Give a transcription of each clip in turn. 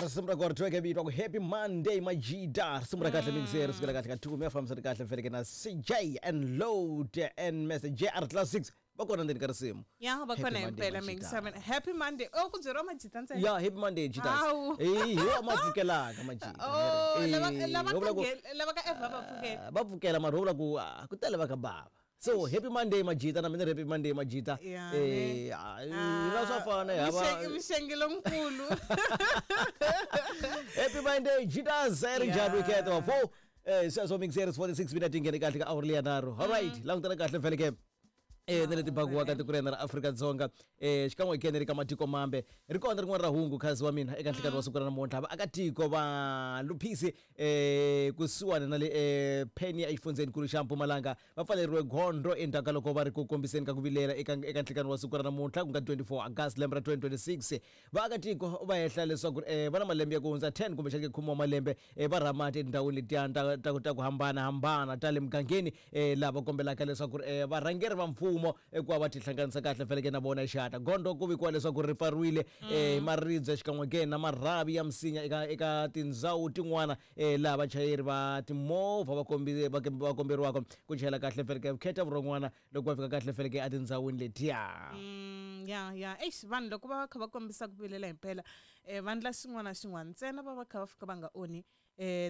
Risimu ra kona ri vito ku Happy Monday Majida. Risimu ra kahle mixer ri sukela kahle ka 2 mi fambisana kahle feleke na CJ and Load and Mr JR Classics va kona ndzeni ka risimu. Ya va Happy kona Monday, himpela Majida. mingisa mina. Happy Monday. Oh, ku byeriwa majita ntsena. Ya, Happy Monday Jitas. Hawu. Eh, hi wa ma pfukelaka majita. Oh, Eh, lava lava ho vula ka ku- lava ka Eva va pfukela. Ah, va pfukela mara ho vula ku ah, ku tele va ka bava. So Happy Monday Majita na mina ri Happy Monday Majita. Ya, Eh, ah, na swa fana hi hava Mixengi lonkulu. Happy Monday Jitas ri njhani weekend wa 4 sweswo mixer 46 minutes yi nghene kahle ka hour leya nharhu. All right, langutana kahle feleke na le tibakiwaka tiko rena ra Afrika-Dzonga xikan'we hi kene ri ka matiko mambe ri kona rin'wana ra hungu khazi wa mina eka nhlikani wa siku ra namuntlha vaakatiko va Luphisi kusuhani na le Penia exifundzhenikulu xa Mpumalanga va pfaleriwe gondzo endzhaku ka loko va ri ku kombiseni ka ku vilela eka eka nhlikani wa siku ra namuntlha ku nga 24 August lembe ra 2026. Vaakatiko va hehla leswaku va na malembe ya ku hundza 10 kumbexana ke khume wa malembe va rha mati etindhawini letiya ta ta ta ku hambanahambana ta le mugangeni laha va kombelaka leswaku varhangeri va mfumo ku va va tihlanganisa kahle feleke na vona hi xihatla. Gondzo ku vikiwa leswaku ri pfariwile hi maribye xikan'we ke na marhavi ya misinya eka eka tindhawu tin'wana laha vachayeri va timovha va va komberiwaka ku chayela kahle feleke vukheta vurhon'wana loko va fika kahle feleke etindhawini letiya. Ya ya eish, vanhu loko va va kha va kombisa ku vilela himpela va ndla xin'wana na xin'wana ntsena va va kha va fika va nga onhi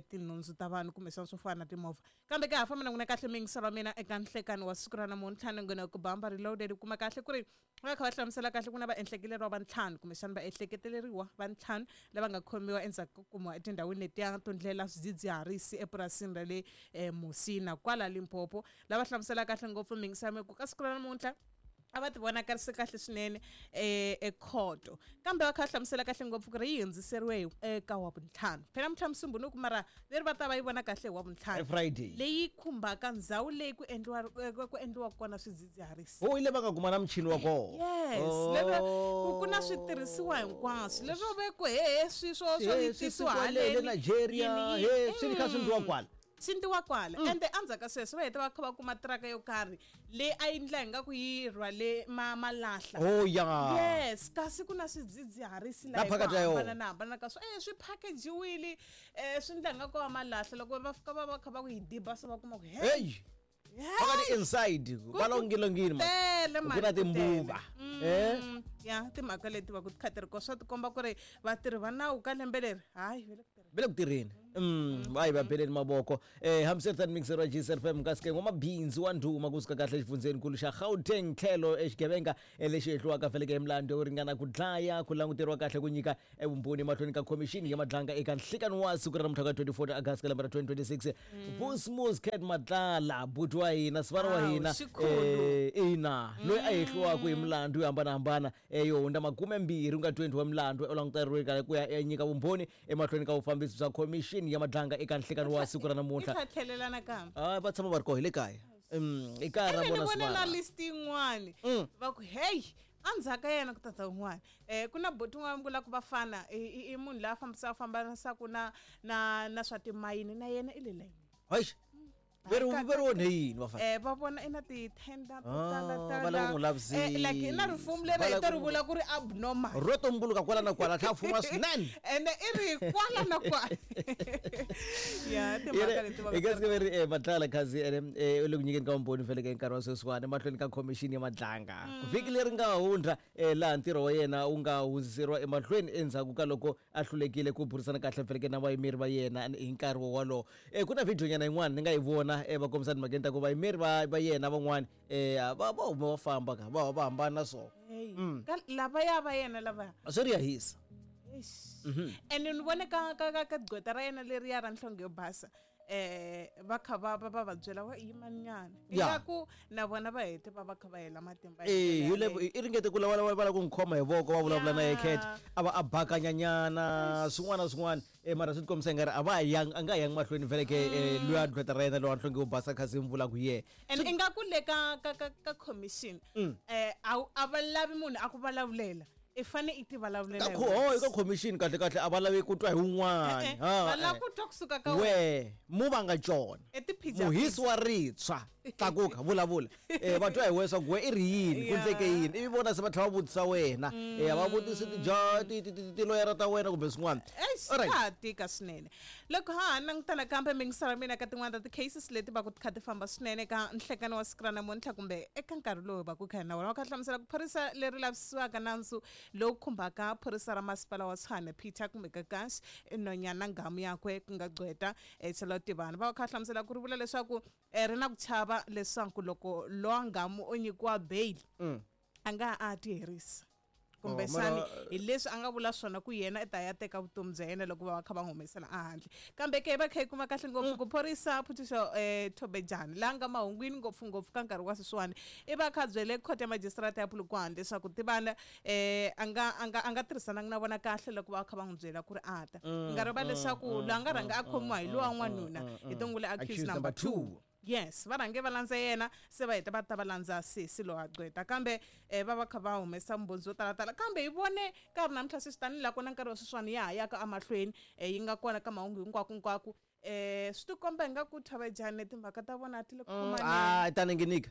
tinhundzu ta vanhu kumbexana swo fana na timovha. Kambe ka ha famba na n'wina kahle miyingiselo wa mina eka nhlekani wa siku ra namuntlha ni nghena ku bamba reloaded. U kuma kahle ku ri va kha va hlamusela kahle ku na vaehlekeleriwa va ntlhanu kumbexana vaehleketeleriwa va ntlhanu lava nga khomiwa endzhaku ko kumiwa etindhawini letiya to ndlela swidzidziharisi epurasini ra le Musina kwala Limpopo. Lava hlamusela kahle ngopfu miyingiselo ku ka siku ra namuntlha a va ti vonakarise kahle swinene ekhoto, kambe va kha va hlamusela kahle ngopfu ku ri yi hundziseriwe eka wa vuntlhanu. Phela namuntlha Musumbhunuku, mara leri va ta va yi vona kahle hi wa vuntlhanu Friday leyi khumbaka ndhawu leyi ku endliwa ku endliwa kona swidzidziharisi. Ho ile va nga kuma na muchini wa kona. Yes, lero ku na switirhisiwa hinkwaswo leswo ve ku hehe swi swo swo He, yi swi tisiwa kwale le haleni Nigeria yini, he yini. swi kha swi ndliwa kwala. Swi ndliwa kwala ende endzhaku ka sweswo va heta va kha va kuma tiraka yo karhi leyi a yi ndla ingaku yi rhwale malahla. Oh ya. Yes, kasi ku na swidzidziharisi La laha hi ku phakathi ka yona. hambanahambana ka swona swi packagiwile swi ndla ingaku va malahla. Loko va fika va va kha va ku yi diba so va kuma ku hey Hey, phakathi inside va longilongini ma. Tele Ku mani, na ku tele. timbuva. Ya timhaka leti va ku ti kha ti ri kona swa tikomba ku ri vatirhi va nawu ka lembe leri hayi va le ku tirheni. Va le ku tirheni. Va yi va beleni mavoko. Hambiswiritano mixer wa GCFM kasi n'wamabindzu wa ndhuma kusuka kahle exifundzhenikulu xa Gauteng tlhelo exigevenga lexi hehliwaka feleke hi milandzu yo ringana ku dlaya ku languteriwa kahle ku nyika vumbhoni emahlweni ka khomixini ya madlanga eka nhlikani wa siku ra namuntlha ka 24 August ka lembe ra 2026. Vusmus Cat Matlala buti wa hina sivara wa Hawu, hina xikhulu. Ina loyi a hehliwaka hi milandzu yo hambanahambana yo hundza 20 ku nga 20 wa milandzu u languteriwe kahle ku ya nyika vumbhoni emahlweni ka vufambisi bya khomixini ya madlanga eka nhlikani wa siku ra namuntlha. Yi tlha tlhelela nakambe. Ah, va tshama va ri koho hi le kaya. I kaya ra Ene ni vona vone na sivara. list yin'wani va ku hey endzhaku ka yena ku tata un'wana ku na buti un'wana vula ku vafana i munhu loyi a fambisaka fambanisaka na na na swa timayini na yena i le layini. Hayi. Ve ri onhe yini vafana? Va vona i na ti-tender to Ah, tala va lava ku n'wi tala. Like i na lavisisa. rifumo leri Va hi lava to ku ri n'wi- vula ku ri abnormal. Ro tumbuluka kwala na kwala tlha fuma swinene. Ene i ri kwala na kwala. Ya timhaka leti va Hi ka siku leri Matlala khazi ene u le ku nyikeni ka vumbhoni feleke nkarhi wa sweswiwani emahlweni ka khomixini ya madlanga vhiki leri nga hundza laha ntirho wa yena wu nga hundziseriwa emahlweni endzhaku ka loko a hlulekile ku burisana kahle feleke na vayimeri va yena hi nkarhi wolowo. Ku na video nyana yin'wana ni nga yi vona va kombisa timhakeni ta ku vayimeri va va yena van'wani va va huma va famba ka va va hambana na swona. Hey, ka lavaya va yena lavaya. Swi ri ya hisa. Eish. Ene ni vone ka ka ka ka gqweta ra yena leriya ra nhlonge yo basa va kha va va va va byela wa yimanyana Ya. ingaku na vona va hete va va kha va hela matimba hi Eh, ndlela hi le yaleyo. i ringete ku lava va lava ku n'wi khoma hi voko va vulavula na yena Cat Ya. a va a bakanyanyana swin'wana na swin'wana mara swi tikombisa ingari a va ha yangi a nga ha yangi mahlweni vhele ke luya gqweta ra yena lowa nhlonge yo basa kha se mi vula ku yehe. And ingaku le ka ka ka ka commission a va lavi munhu a ku vulavulela. I fane i ti vulavulela Ka hi ho wexe. eka commission kahle kahle a va lavi ku twa hi wun'wana. E-e, Ha, va lava eh. ku twa kusuka ka wena. We mu va nga cona I tiphija muhisi wa ritshwa, tlakuka vulavula. Va twa hi wena swa ku we i ri yini, ku endleke yini, ivi vona se va tlhela va vutisa wena. A va vutisi tiloyara ta wena kumbe swin'wana. Eish, Alright. ka ha tika swinene loko ha ha langutana kambe mingisela mina ka tin'wana ta ti-cases leti va ku ti kha ti famba swinene ka nhlekani wa siku ra namuntlha kumbe eka nkarhi lowu va ku kha na wona va kha hlamusela ku phorisa leri lavisisiwaka nandzu lowu khumbaka phorisa ra masipala wa Tshwane Peter kumbe Kakashi nonyana nghamu yakwe ku nga gqweta Charlotte Tivani. Va kha hlamusela ku ri vula leswaku ri na ku chava leswaku loko lowa nghamu o nyikiwa bail a nga ha a ti herisa, kumbexani hi leswi a nga vula swona ku yena i ta ya teka vutomi bya yena loko va va kha va n'wi humesela ehandle. Kambe ke va kha yi kuma kahle ngopfu ku phorisa Phuthusho Thobejani laha nga mahungwini ngopfungopfu ka nkarhi wa sweswiwani i va kha byele khoto ya majisitarata ya Polokwane leswaku Tivana a nga tirhisananga na vona kahle loko va kha va n'wi byela ku ri a ta nga riva leswaku loyi a nga rhanga a khomiwa hi lowa n'wanuna hi tongule accused number 2. Yes, va rhange va landza yena, se va heta va ta va landza sesi loyi a gqweta, kambe va va kha va humesa mbhondzi yo talatala. Kambe hi vone nkarhi namuntlha sweswi tanihi laha ku na nkarhi wa sweswiwani ya ha yaka emahlweni yi nga kona ka mahungu hinkwako hinkwako, swi tikomba hi nga ku Thavejani timhaka ta vona ti le ku khomaneni. A ta ninginika.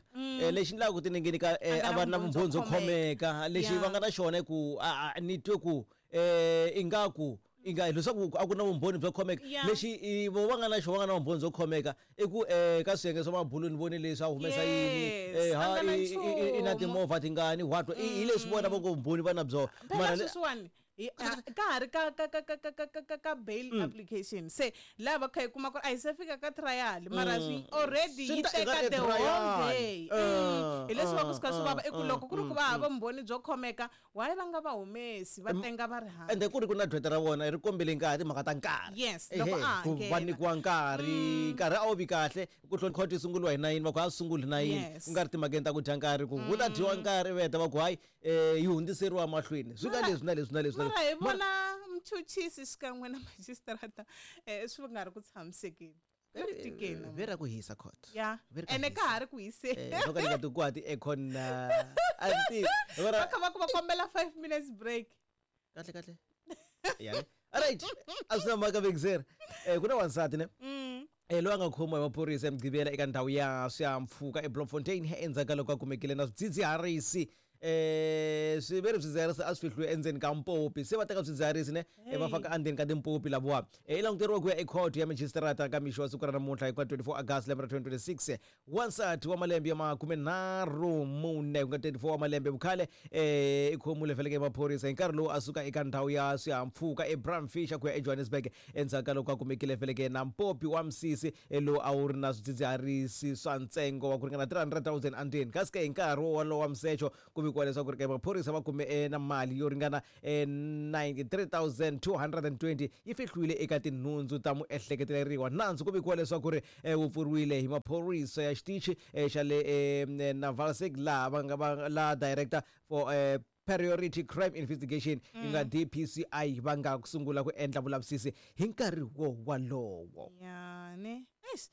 Lexi endlaka ku ti ninginika, A a nga va na na vumbhoni vumbhoni byo byo khomeka. Lexi va nga na xona i ku ni twe ku ingaku inga leswaku a ku na vumbhoni byo khomeka. Lexi vo va nga na xona, va nga na vumbhoni byo khomeka i ku ka swiyenge swa mabulu ni vone leswi a humesa yini. Yes, a Ha nga na i na nchumu. Timovha tingani what hi leswi vona va ngo vumbhoni va na byona. Phela Mara sweswiwani ka ha ri ka bail application, se laha va kha hi kuma ku ri a hi se fika ka trial, mara swi already Swi yi ta teka eka the whole trial. day. Hi leswi va ku swi kha swi vava i ku loko ku ri ku va hava vumbhoni byo khomeka, why va nga va humesi va tenga va ri handle? Ende ku ri ku na gqweta ra vona ri kombele nkarhi, timhaka ta nkarhi. Yes, loko Ehe, a ha ku va nghena. nyikiwa nkarhi, nkarhi a wu vi kahle ku hloni court yi sunguriwa hi 9, va ku a sunguli hi 9. Ku nga ri timhakeni ta ku dya nkarhi, ku ta dyiwa nkarhi, va heta va ku hayi yi hundziseriwa mahlweni, swi nga leswi na leswi na leswi na Mara hi leswi. vona mchuchisi xikan'we na majistrata swi nga ri ku tshamisekeni, ku tikeni. Ve ra ku hisa court. Ya. Ve ri ka Ene ka hisa. ha ri ku hiseni. No ka ni nga ti ku ha ti-aircon na a ni tivi. Va kha va ku va kombela 5 minutes break. Kahle kahle ya ne? Alright, a swi na mhaka vekiseri. Ku na wansati ne loyi a nga khomiwa hi maphorisa eMugqivela eka ndhawu ya swihahampfhuka eBloemfontein endzhaku ka loko a kumekile na swidzidziharisi. Swi ve ri swidzidziharisi a swi fihliwe endzeni ka mpopi, se va teka swidzidziharisi ne va faka endzeni ka timpopi lavawa. I languteriwa ku ya ekhoto ya majisitarata ka mixo wa siku ra namuntlha hi ka 24 August lembe ra 2026. Wansati wa malembe ya 34, ku nga 34 wa malembe vukhale, i khomiwile feleke hi maphorisa hi nkarhi lowu a suka eka ndhawu ya swihahampfhuka eBramfisher ku ya eJohannesburg endzhaku ka loko a kumekile feleke na mpopi wa misisi lowu a wu ri na swidzidziharisi swa ntsengo wa ku ringana 300 000 endzeni. Kasi ke hi nkarhi wolowo wa misecho ku vikiwa leswaku ri ke maphorisa va kume na mali yo ringana 93 220 yi fihliwile eka tinhundzu ta muehleketeleriwa. Nandzu ku vikiwa leswaku ri wu pfuriwile hi maphorisa ya xitichi xa le Navalsig, laha va nga va la director for Priority Crime Investigation yi nga DPCI va nga sungula ku endla vulavisisi hi nkarhi wo walowo. Ya ne, eish,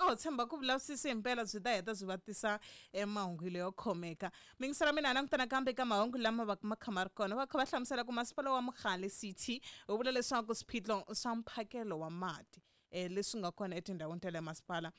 oh tshemba ku vulavisisi himpela byi ta heta byi va tisa emahungu yo khomeka. Mingisela mina langutana kambe ka mahungu lama va ma kha ma ri kona, va kha va hlamusela ku masipala wa Mogale City wu vula leswaku swiphiqo swa mphakelo wa mati leswi nga kona etindhawini ta le masipala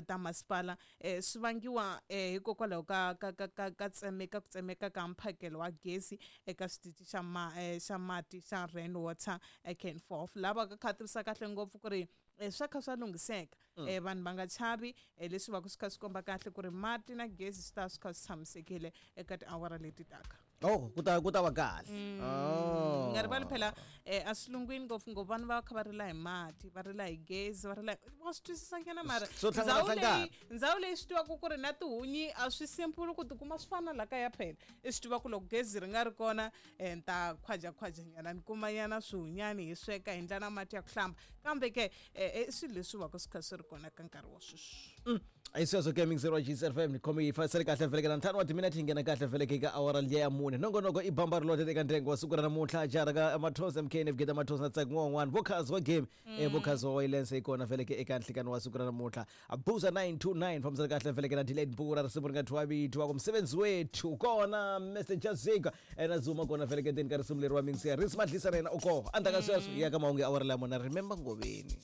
ta masipala swi vangiwa hikokwalaho ka tsemeka ku tsemeka ka mphakelo wa gezi eka xitichi xa mati xa Rain Water Canforth, lava ka kha tivisa kahle ngopfu ku ri swa kha swa lunghiseka, vanhu va nga chavi, leswi va ku swi kha swi komba kahle ku ri mati na gezi swi ta swi kha swi tshamisekile eka tiawara leti taka. Oh, ku ta va kahle. Oh. Nga rivali phela a swilungwini ngopfungopfu vanhu va kha va rila hi mati, va rila hi gezi, va rila wa swi twisisa nyana, mara Swo ndhawu hlangana. Leyi ndhawu leyi swi tivaka ku ri na tihunyi a swi simple ku tikuma swi fana la kaya. Phela i swi tiva ku loko gezi ri nga ri kona ni ta khwajakhwaja nyana, ni kuma nyana swihunyani hi sweka hi ndla na mati ya ku hlamba, kambe ke i swilo leswi va ka swi kha swi ri kona ka nkarhi wa sweswi. Hi sweswo ke mixer wa GCFM ni khome yi fasele kahle vhele na ntlhanu wa timinete yi nghena kahle vhele ka awara liya ya mune. Nongonoko i bamba ri lote eka ndyangu wa siku ra namuntlha jara ka Mathonsi MK Navigate Mathonsi na Tsaki n'wan'wana vokhazi wa game vokhazi wa Waylense yi kona vhele ke eka nhlikani wa siku ra namuntlha. Abuza 929 fambisana kahle vhele ke na Delayed Mbura risimu ri nga thyiwa vito wa ku msebenzi wethu kona Mr Jazika na Zuma kona vhele ke ndzeni ka risimu leri wa mixer Risi Madlisa na yena u koho. Endzhaku ka sweswo hi ya ka mahungu ya awara liya mune. Remember Ngoveni.